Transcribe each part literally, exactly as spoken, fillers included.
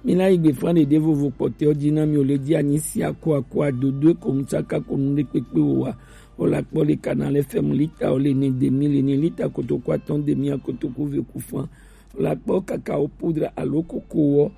Mi la yi gbe flan ɖeɖe vovo kpɔtɛ ɔ ji na mi o le ji anyi si ako ako adodo e ko nu tsaka ko nu ɖe kpekpe o wa. O la kpɔ le Canal F M lita o le ne demi le ne lita kotoku atɔn demi akotoku ve ku flan. O la kpɔ kakao poudre alo koko ɔ.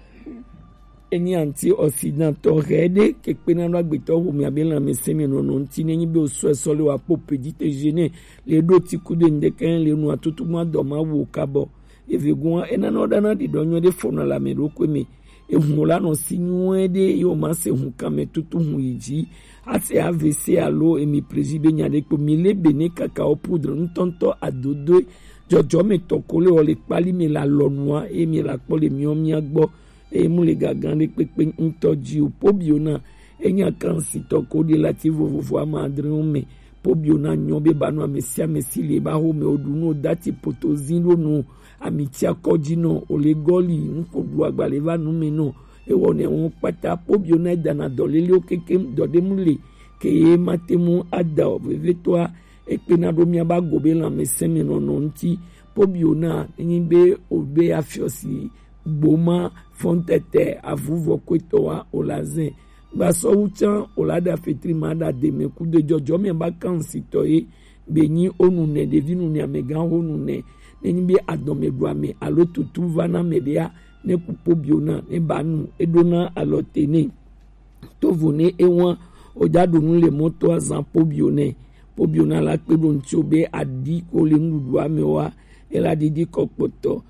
Enyi antioxydant tɔ hɛ ɖe ke kpena ɖo agbetɔ xomɛ abe lãmɛsɛmɛ nɔnɔ ŋuti ne nyi be o sɔ esɔ le wa po petit déjeuner le ɖo ti ku de ŋdekɛ le nu atutu ma dɔ ma wo kabɔ. Evegun wa enana ɖana ɖiɖɔ nyuie ɖe fɔna le ame ɖokui me. Ehun la nɔ si nyuie ɖe ye o ma se hun kan me tutu hun yi dzi. Ase A V C alo emi plezi be nya ɖe kpo mi le be ne kakao poudre ŋutɔŋutɔ adodoe jɔjɔme tɔ ko le wɔ le kpali me le alɔnua eye mi la kpɔ le miɔ mia gbɔ. Eye mu le gagan ɖe kpekpe ŋutɔ dzi o. Pobio na enya kan si tɔ ko ɖi lati vovovo ama adrewo me. Pobio na nyɔ be ba nu ame sia ame si le ba xo me o ɖu nu o dati poto zi ɖo nu ami tsia kɔ dzi nɔ o le gɔli nu ko ɖu agba le va nu me nɔ. Ewɔ ne wɔn kpata pobio na dana dɔ lelewo kekem dɔ ɖe mu le ke ye ma te mu ada o vevetɔa. Ekpena ɖo mia ba go be lãmɛsɛmɛ nɔnɔ ŋuti. Pobio na nyi be o be afiɔ si gboma fɔntɛtɛ avuvɔ kwetɔ wa o la zɛn. Gbasɔwu can o la ɖa fetri ma ɖa deme ku de jɔjɔ mɛ ba kan si tɔ ye be nyi o nu nɛ ɖevi nu nɛ amɛgan ho nu nɛ ne nyi be adɔmɛ ɖu amɛ alo tutu va na mɛ ɖea ne ku pobio na ne ba nu e ɖo na alɔ te ne. Tovo ne ewan o ja ɖu nu le mɔto azan pobio ne. Pobio na la kpe ɖo ŋtsi o be aɖi ko le nuɖuɖu ame wa e la ɖiɖi kɔ kpɔtɔ.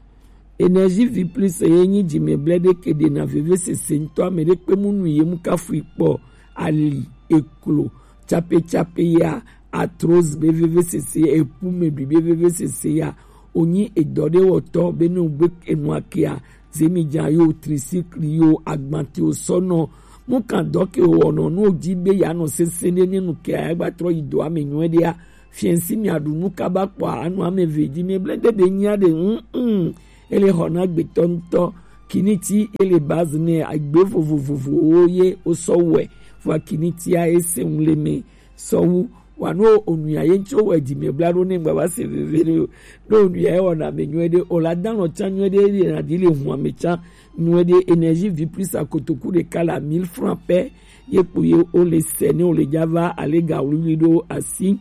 Énergie vie plus ye nyi dzimɛblɛ ɖe ke ɖe na veve sese ŋutɔ ame ɖe kpe mu nu ye mu kafu kpɔ ali eklo tsape tsape ya arthrose be veve sese epu me ɖui be veve sese ya onyi edɔ ɖe wɔtɔ be ne o gbe enua kea zemi dza yo tricycle yo agbante o sɔ nɔ mu kan dɔ ke o wɔnɔ nu o dzi be ya nɔ sese ɖe ne nu kea ya gba trɔ yi dɔ ame nyuie ɖea. Fiɛnsi mi aɖu nu kaba kpɔa anu ame ve dzi mi ble de be nyia ɖe ŋu ŋu ele xɔ na gbetɔ ŋutɔ kiniti ele base ne agbe vovovovowo ye o sɔ wɛ vɔa kinitia ese ŋu le me sɔwu wa no onuya ye ŋtsi wowɔe dzi me bla ɖo ne ŋgba va se veve ɖe o ne onuya ye wɔna me nyuie ɖe o la dan lɔ tsa nyuie ɖe ye na ɖi le hun ame tsa nyuie ɖe énergie vie plus akotoku ɖeka la mille francs pɛ ye kpo ye o le sɛ ne o le dza va ale ga wluwlui ɖo asi.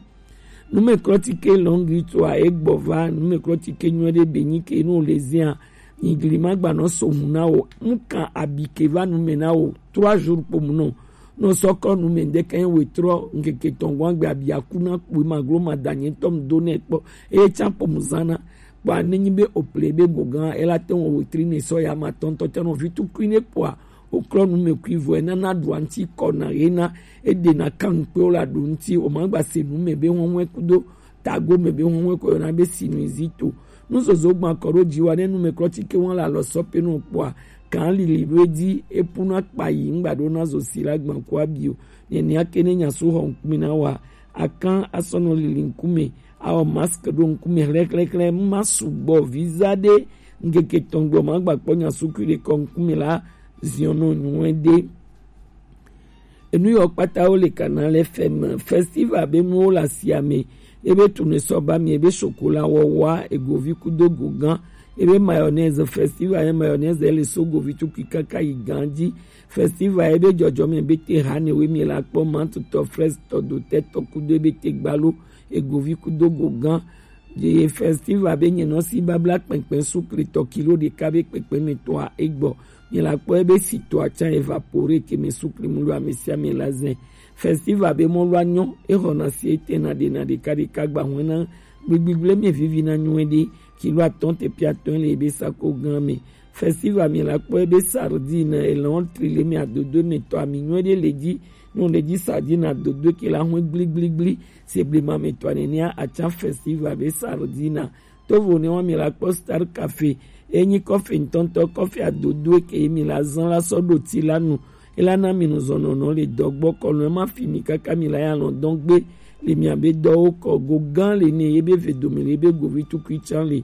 Numeklɔtike lɔngri toa egbɔ va numeklɔtike nyuie ɖe be nyi ke no le zia nyigli ma gba nɔ so hun na o mu kan abi ke va nume na o trois jours kpo mu nɔ nɔ sɔkɔ nume ŋdeke wetrɔ ŋkeke tɔngɔn agbe abi aku na kpui ma glo ma da nye tɔm do ne kpɔ eye tsa kpo mu zana kpɔ ne nyi be o ple be gogan ela te wɔ wetri ne sɔ ya ma tɔntɔ tɛ nɔ vi tukui ne kpɔa Oklɔ nume kui vɔ enana ɖua ŋti kɔ na ye na eɖe na kan kpe o la ɖu ŋti o ma gba se nume be wɔn wɛ kudo tago me be wɔn wɛ kɔ yɔna be sinusite nuzozo gban kɔ ɖo dzi wa ne nume klɔ tike wɔn la lɔ sɔ pe no kpɔa kan lili ɖo edzi epu na kpa yi ŋgba ɖo na zo si la gban kua bi o nenia ke ne nya su xɔ ŋkume na wa akan asɔnɔ lili ŋkume awɔ mask ɖo ŋkume xlɛxlɛxlɛ ma sugbɔ visa ɖe ŋkeke tɔn gbɔ ma gba kpɔ nya su kui ɖe kɔ ŋkume la ziɔn nɔ nyuie ɖe. Enu yɔ kpata wo le kana le fɛ me festival be nuwo le asia me ebe tune sɔ ba mi ebe sokola wɔwa egovi kudo gogan ebe mayonnaise festival ye mayonnaise le so govi tukui kaka yi gan dzi festival ebe jɔjɔ me be te ha ne we mi la kpɔ mantutɔ fraise tɔ dotɛ tɔ kudo ebe te gbalo egovi kudo gogan Ye festival be nye nɔ si babla kpɛnkpɛn sukle tɔ kilo ɖeka be kpɛnkpɛn me tɔa egbɔ. Nye la kpɔ ebe si tɔa tsa evapore ke me sukle mu lo ame sia ame la zɛ. Festival be mɔ lo anyɔ exɔ na si ete na ɖe na ɖeka ɖeka gba hɔn na gbigbigle me vivi na nyuie ɖe kilo atɔn te pia atɔn le ebe sako gan me. Festival mi la kpɔ ebe sardine elɔn tri le mi adodo me tɔ ami nyuie ɖe le dzi no le dzi sardine adodo ke la hɔn gbligbligbli se blema me tɔ nenia atsa festival be sardine tovo ne wa mi la kpɔ star cafe enyi kɔfe ŋtɔŋtɔ kɔfe adodo ke mi la zan la sɔ ɖo ti la nu ela na mi nu zɔnɔnɔ le dɔgbɔ kɔnɔ ema fi mi kaka mi la ya lɔn dɔn gbe le mi abe dɔwo kɔ go gan le ne ye be ve dome le ye be govi tukui tsan le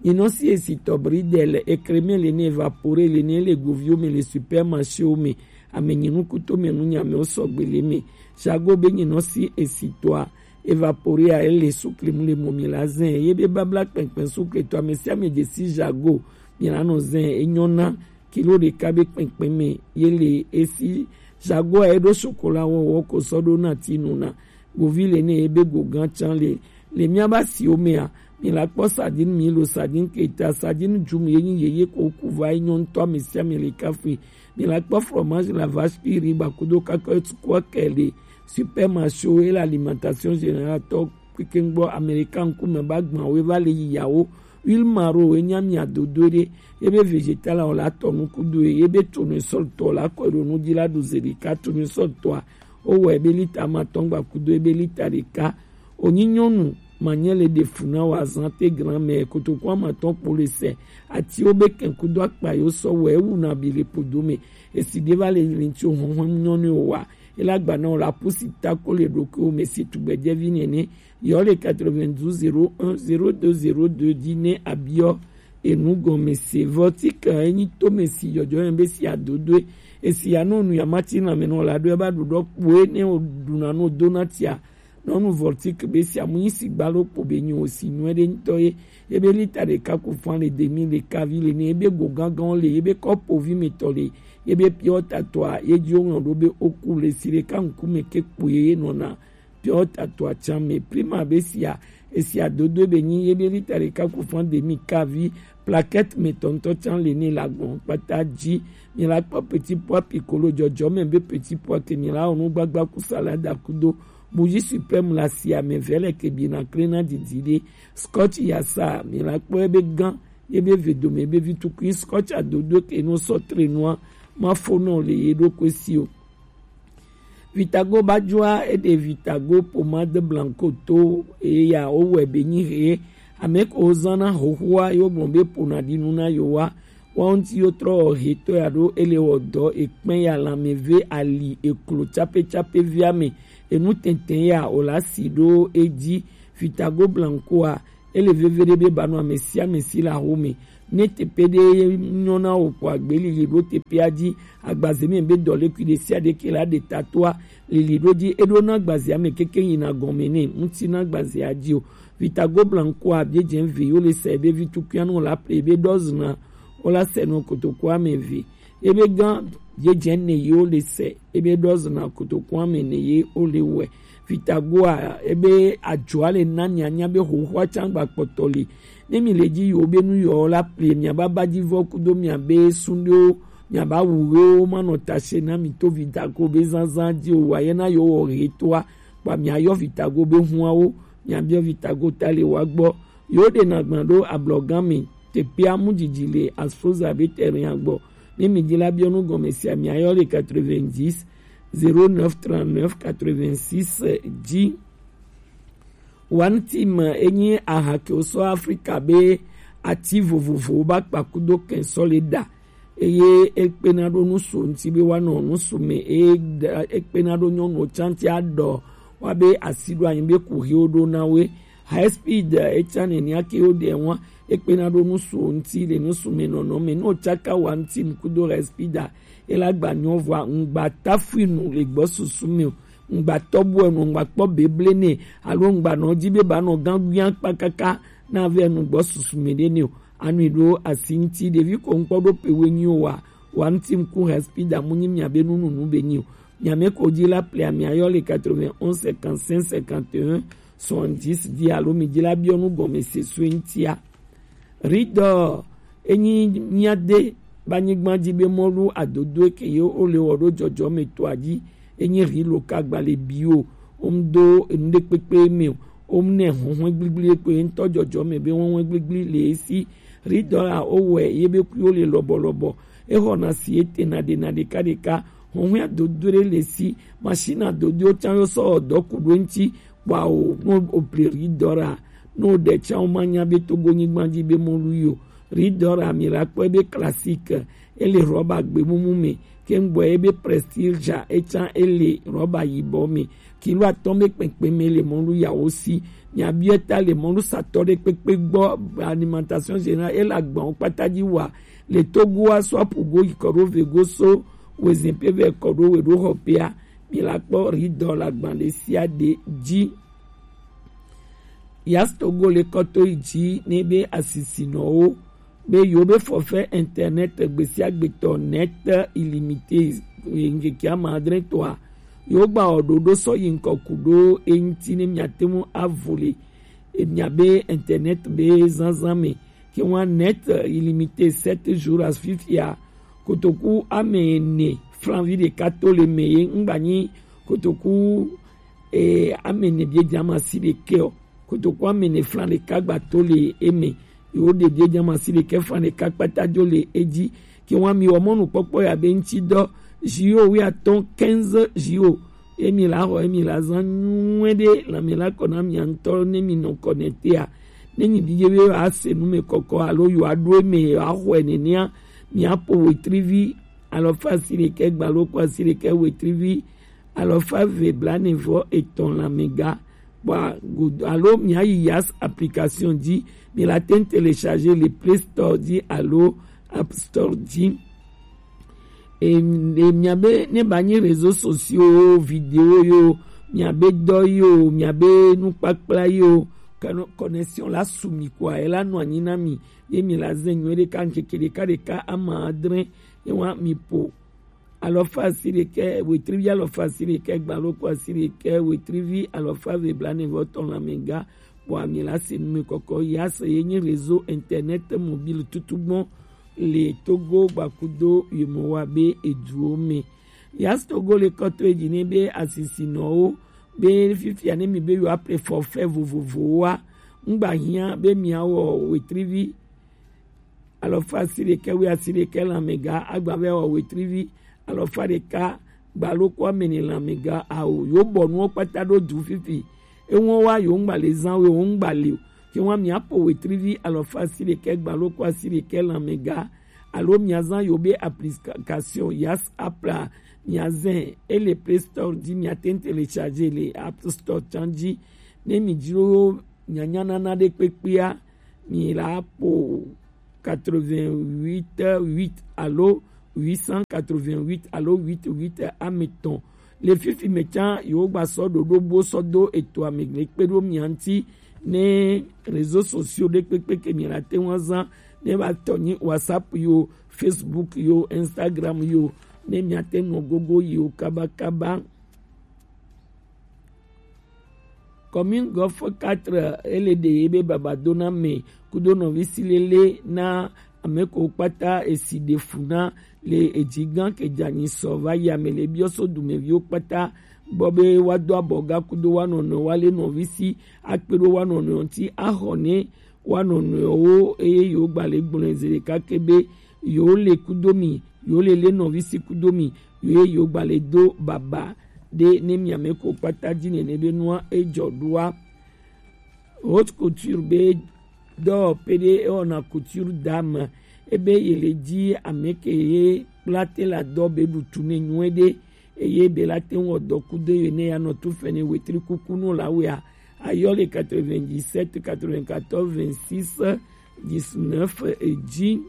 Nyinɔ si esi tɔbri ɖe le ekreme le ne evapore le ne le goviwo me le supermarchéwo me ame nyinukuto me nunyamɛwo sɔgbe le me jago be nyinɔ si esi tɔa evapore a ele sukle mu le mɔ mi la zɛ ye be babla kpɛnkpɛn sukle tɔ ame sia ame dze si jago mi la nɔ zɛ enyɔ na kilo ɖeka be kpɛnkpɛn mɛ ye le esi. Jago a eɖo sokola wɔwɔ ko sɔ ɖo na ti nu na govi le ne ebe go gan can le le mía ba si omea. Mi la kpɔ sardine mi lo sardine keta sardine dum ye nyi yeye ko ku va yi nyɔnu tɔ ame sia ame le kafui. Mi la kpɔ fromage la vache qui rit ba kudo kakɔ etukua kɛ le supermarché wo ye le alimentation générale tɔ kpekpe gbɔ. Américain ŋkume ba gbã wo va le yi yawo. Huile maro ye nya mi adodo ɖe ye be végétal o la tɔ nu kudo ye be tournesol tɔ la kɔ ɖo nu dzi la ɖu ze ɖeka. Tournesol tɔa wo wɔ ebe lita ma tɔn gba kudo ebe lita ɖeka. Onyi nyɔnu ma nye le ɖe fu na wa zan te gran mɛ kotoku ama tɔn kpo le sɛ ati wo be kɛn kudo akpa yo sɔ wɔ ewu na bi le podo mɛ. Esi ɖe va le linti o hɔn hɔn nyɔnu o wa ela gba na o la pusi ta ko le ɖokuiwo mɛ si tugbɛjɛvi nɛnɛ. Yɔ le quatre-vingt-douze zéro un zéro deux zéro deux dzi ne abiɔ enu gɔme se. Vɔtika enyi to mɛ si jɔjɔ yɛn be si adodoe. Esi ya no nu ya mati na mɛ no la do eba ɖuɖɔ kpoe ne o ɖuna no do na tia. Nɔnu vɔtik be si amu nyi si gbalo kpo be nyi o si nyuɛ ɖe ŋutɔ ye. Ebe lita ɖeka ku fan le demi le kavi le ne ebe go gangan le ebe kɔpovi me tɔ le ebe piɔ tatɔa ye dzi o ŋlɔ ɖo be o ku le si ɖeka ŋkume ke kpo ye ye nɔna. Piɔ tatɔa can me prima be sia esia dodo be nyi ye be lita ɖeka ku fan demi kavi. Plaquette me tɔntɔ can le ne la gbɔn kpata dzi. Mi la kpɔ petit pois piccolo jɔjɔ me be petit pois ke mi la onu gbagba ku salada kudo. Bougie suprême la sia me vɛ le ke bi na kle na didi ɖe. Scotch ya sa mi la kpɔ ebe gan ye be ve dome be vi tukui scotch adodo ke no sɔ tre noa ma fo nɔ le ye ɖo kwe si o. Vitago ba joa eɖe Vitago pomade blanco to eya o wɛ be nyi he ame ko zan na hohoa yo gbɔn be pona ɖi nu na yo wa. Wa ŋuti yo trɔ he to ya ɖo ele wɔ dɔ ekpɛn ya lanmeve ali eklo tsape tsape via me enu tɛntɛn ya o la si ɖo edzi. Vitago blanco a ele veve ɖe be ba nɔ ame sia ame si le aho me. Ne teƒe ɖe nyɔ na wò ko agbe lili ɖo teƒea dzi. Agbaze me be dɔlékui ɖe sia ɖe ke la ɖe tatoa lili ɖo dzi eɖo na agbazea me keke yina gɔme ne ŋuti na agbazea dzi o. Vitago blanco a bie dze ve yo le se be vi tukui anu la ple be dɔzna o la se no kotoko ame ve ebe gan bie dze ne yo le se ebe dɔzna kotoko ame ne ye o le wɛ. Vitagoa ebe adzoa le na mianya be xoxoa tsã gba kpɔtɔ li. Ne mi le dzi yiwo be nu yiwo la plie miaba ba dzi vɔ kudo miabe sunɖewo miaba wu ɣewo manɔ tase na mi to Vitago be zazã dzi o wa ye na yewo wɔ ɣetoa kpa miayɔ Vitago be huawo miabiɔ Vitago ta le wa gbɔ. Yewo ɖe na gbã ɖo ablɔgã mi teƒea mu dzidzi le Asfoza be terrain gbɔ. Ne mi dzi la biɔ nu gɔme sia miayɔ le quatre-vingt-dix zéro neuf trente-neuf quatre-vingt-six dzi. One Team enyi aha ke wosɔ Afrika be ati vovovowo ba kpa kudo kɛn sɔ le ɖa eye ekpena ɖo nusu ŋuti be woanɔ nusu me eye ekpena ɖo nyɔnuwo tsã ŋuti aɖɔ woabe asi ɖo anyi be kuxiwo ɖo na woe. High speed etsa nenia ke wo ɖe wa ekpena ɖo nusu ŋuti le nusu me nɔnɔ me no tsaka One Team kudo high speed a ela gba nyɔ vɔa ŋgba tafui nu le gbɔ susu me o. Ŋgba tɔbu enu ŋgba kpɔ beble ne alo ŋgba nɔ dzi be ba nɔ gã guia kpa kaka na ve nu gbɔ susu me ɖe ne o. Anui ɖo asi ŋuti ɖevi ko ŋkpɔ ɖo pe we nyi o wa One Team ku high speed amu nyi mia be nununu be nyi o. Mia me ko dzi la plia mia yɔ le quatre-vingt-onze cinquante-cinq cinquante et un soixante-dix dzi alo mi dzi la biɔ nu gɔme se sue ŋutia. Ridɔ enyi mia de ba nyigba dzi be mɔlu adodo ke ye o le wɔ ɖo jɔjɔ me to adzi enyi ri lo ka gba le bi o. Om do enu ɖe kpekpe me o. Om ne huhun gbligble ko ŋutɔ jɔjɔ me be huhun gbligble le esi. Ridɔ la o wɛ ye be kuyo le lɔbɔlɔbɔ. Exɔna si etena ɖena ɖeka ɖeka. Huhun adodo ɖe le si. Machine adodo tsã yo sɔ dɔ ku ɖo ŋuti. Kpɔa o, no o ple ridɔ la, no o ɖe tsã o ma nya be Togo nyigba dzi be mɔlu yi o. Ridɔ la mi la kpɔe be classique, ele rɔba gbemumu me, ke ŋgbɔ ye be prestige ja etsã ele rɔba yibɔ me. Kilo atɔ̃ be kpɛkpɛ me le mɔlu yawo si. Miabiɔ ta le mɔlu satɔ ɖe kpekpe gbɔ alimentation générale ele agbawo kpata dzi wa le Togo aso apugo yi kɔ ɖo vego so wezin pe vɛ kɔ ɖo we ɖo xɔ pea. Mi la kpɔ ridɔ la gban ɖe sia ɖe dzi. Yas Togo le kɔto yi dzi ne be asisinɔwo be yewo be forfait internet gbesiagbetɔ, net illimité, ŋkeke ama adre tɔa, yewo gba wɔ ɖoɖo sɔ yi ŋkɔ ku ɖo eŋuti ne miate ŋu avo le miabe internet be zazã me. Ke ŋua net illimité sept jours à fifia, kotoku ame ene flan vi ɖeka to le me ye ŋgba nyi kotoku e, ame ene biedze ama si ɖekɛ o. Kotoku ame ene flan ɖeka gba to le eme. Yewo ɖe biedze ama si ɖekɛ flan ɖeka kpata dzo le edzi. Ke ŋua mi wɔ mɔnukpɔkpɔ ya be ŋuti dɔ, zio wi atɔ̃, quinze zio. Emi la xɔ, emi la zã nyuie ɖe, lãme la kɔ na mia ŋutɔ ne mi nɔ kɔ ne tea. Ne mi bi ye be yewoa se nu me kɔkɔ alo yewoa ɖo eme yewoa xɔe nenea, mia po wetrivi alɔfa asi ɖekɛ gba loko asi ɖekɛ wetrivi alɔfa eve blaene vɔ etɔ̃ lãmega. Bua godo alo mia yi Yas application dzi, mi la te ŋu télécharger le Play Store dzi alo App Store dzi. E, e, miabe ne ba nyi réseaux sociaux, vidéo yo, miabe dɔ yo, miabe nukpakpla yo, kano connexion la su mi kua, e la nɔ anyi na mi, ye mi la zɛ nyuie ɖeka ŋkeke ɖeka ɖeka ama adre, ye wa mi po alɔfa asi ɖekɛ wetrivi alɔfa asi ɖekɛ gba loko asi ɖekɛ wetrivi alɔfa eve blaene vɔ etɔ̃ lãmega. Bua mi la se nu me kɔkɔ Yas ye nyi réseau internet mobile tutugbɔ le Togo gbakudo yemowa be eduwo me. Yas Togo le kɔtɔ edzi ne be asisinɔwo be fifia ne mi be yewoa ple forfait vovovowoa, ŋgba hiã be miawɔ wetrivi alɔfa asi ɖekɛ wi asi ɖekɛ lãmega agba vɛ wɔ wetrivi alɔfa ɖeka gba loko ame ene lãmega ao. Yewo bɔ nuwo kpata ɖo du fifi. Eŋuɔ wa yewo ŋgba le zã o, yewo ŋgba le o. Ke ŋua mia po wetrivi alɔfa asi ɖekɛ gba loko asi ɖekɛ lãmega alo mia zã yewo be application Yas app la, mia zɛ e le Play Store dzi, mia te ŋu télécharger le App Store tsã dzi. Ne mi dzro nyanya nana ɖe kpekpea, mi la po quatre-vingt-huit huit alo huit cent quatre-vingt-huit alo huit huit ame etɔ̃. Le fifi me tsã yewo gba sɔ ɖoɖo bo sɔ do etoa me le kpe ɖo mia ŋuti ne réseaux sociaux ɖe kpekpe ke mi la te ŋu azã ne ba tɔ nyi WhatsApp yo, Facebook yo, Instagram yo, ne mia te nɔ gogo yi wo kabakaba. Commune Golfe quatre ele ɖe ye be babadona me kudo nɔvi si lele na ame ko kpata esi ɖe fu na le edzi gã ke dza nyi sɔ va yi ame le biɔ so dumeviwo kpata gbɔ be wa do abɔ ga kudo wa nɔnɔ wa le nɔvi si akpe ɖo wa nɔnɔ ŋuti axɔ ne wa nɔnɔewo eye yewo gba le gblɔe zi ɖeka ke be yewo le kudo mi, yewo le le nɔvi si kudo mi, ye yewo gba le do baba ɖe ne miame ko kpata dzi nene be nua edzɔ ɖoa. Haute couture be dɔwɔƒe ɖe ewɔna couture dame ebe ye le dzi ame ke ye kpla te la dɔ be ɖutu ne nyuie ɖe eye be la te ŋu wɔ dɔ kudo ye ne ya nɔ tu fɛnɛ wetri kuku no la wea ayɔ le quatre-vingt-dix-sept quatre-vingt-quatorze vingt-six dix-neuf dzi.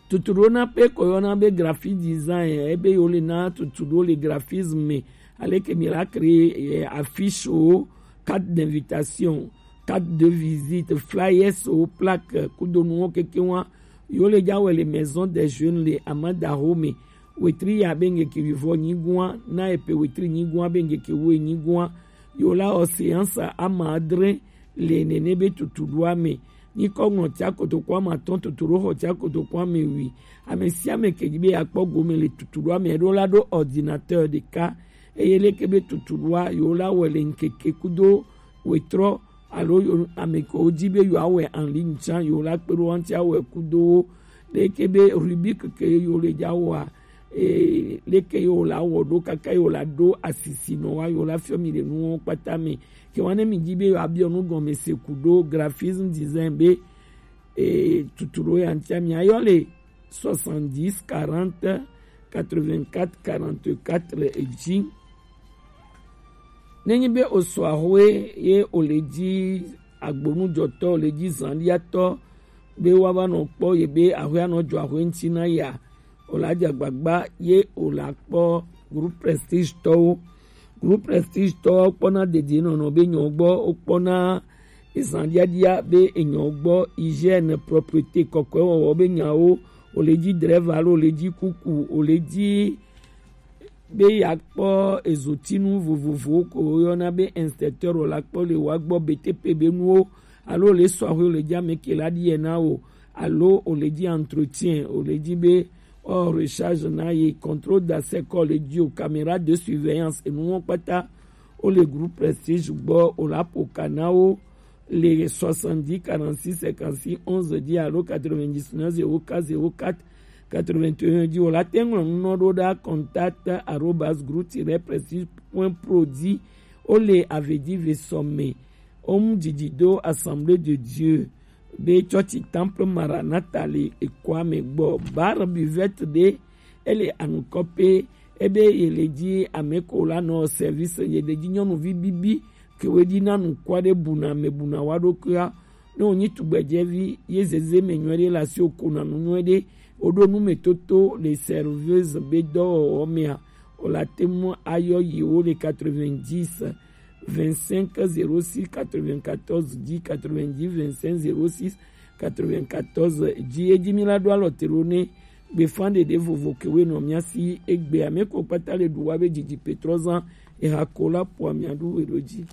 Tutuɖo na pe ko yɔna be graphic design ebe yo le na tutuɖo le graphisme me aleke mi la créer eh, affiche o, carte d'invitation, carte de visite, flyers o, plaque kudo nuwo keke wa yo le dza wɛ le maison des jeunes le Amadaho me. Wetri ya be ŋgeke wivɔ nyigua na epe wetri nyigua be ŋgeke wo nyigua yo la o séance ama adre le nene be tutuɖoa me. Nyikɔ ŋlɔ tia kotoko ama atɔ̃ tutuɖo xɔ tia kotoko ame wi. Ame sia ame ke dzi be akpɔ gome le tutuɖoa me ɖo la ɖo ordinateur ɖeka eye leke be tutuɖoa yo la wɛ le ŋkeke kudo wetrɔ alo yo ame ke wo dzi be yo awɛ en ligne tsã yo la kpe ɖo wa ŋuti awɛ kudo wo leke be rubrique ke yo le dza wɔa ee leke yo la wɔ ɖo kaka yo la ɖo asisi nɔ wa yo la fiɔ mi le nuwo kpata me ke wa ne mi dzi be yo abiɔ nu gɔme se ku ɖo graphisme design be ee tutuɖo ya ŋuti mi ayɔ le soixante-dix quarante quatre-vingt-quatre quarante-quatre dzi. Nenye be osɔ ahoe ye ole dzi agbonujɔtɔ ole dzi zandiatɔ be woava nɔ kpɔ ye be ahoe anɔ dzɔ ahoe ŋuti na ya ola dze agbagba ye ola kpɔ groupe prestige tɔwo. Groupe prestige tɔwo kpɔna dedienɔnɔ be nyɔ gbɔ wokpɔna ezan diadia be enyɔ gbɔ, hygiène, propreté, kɔkɔe wɔwɔ be nyawo, o le dzi drɛva alo o le dzi kuku, o le dzi be yeakpɔ ezotinu vovovowo ko woyɔna be inspecteur o la kpɔ le wa gbɔ, B T P be nuwo, alo o le sɔ axwe o le dzi ame ke la ɖi yɛ na wo, alo o le dzi entretien, o le dzi be o recharge na ye, contrôle d'accès kɔ le dzi o, caméra de surveillance, enuwo kpata o le groupe Prestige gbɔ, o la ƒo ka na wo le soixante-dix quarante-six cinquante-six onze dzi alo quatre-vingt-dix-neuf zéro quatre zéro quatre quatre-vingt-un dzi. O la te ŋlɔ nu nɔ ɖo ɖa contact arobase groupe tiret prestige point pro dzi. O le Avedive sɔme. O mu didi do Assemblée de Dieu be tsɔtsi Temple Maranatha le ekoa me gbɔ. Bar buvette ɖe, ele anukɔ pe, ebe ye le dzi ame ko la nɔ service, ye le dzi nyɔnuvi bibi ke we dzi na nukua ɖe buna me buna wa ɖokuia. Ne wonyi tugbedzɛvi ye zeze me nyuie ɖe le asi o ko na nu nyuie ɖe, o ɖo nu me toto le serveuse be dɔwɔwɔ mea, o la te ŋu ayɔ yewo le quatre-vingt-dix vingt-cinq zéro six quatre-vingt-quatorze dix, quatre-vingt-dix vingt-cinq zéro six quatre-vingt-quatorze dzi. Edzi mi la ɖo alɔ te ɖo ne gbefa ɖeɖe vovo ke we nɔ mia si egbe ame ko kpata le ɖu wa be didi petrɔ zan eha ko la po amia ɖu we ɖo dzi.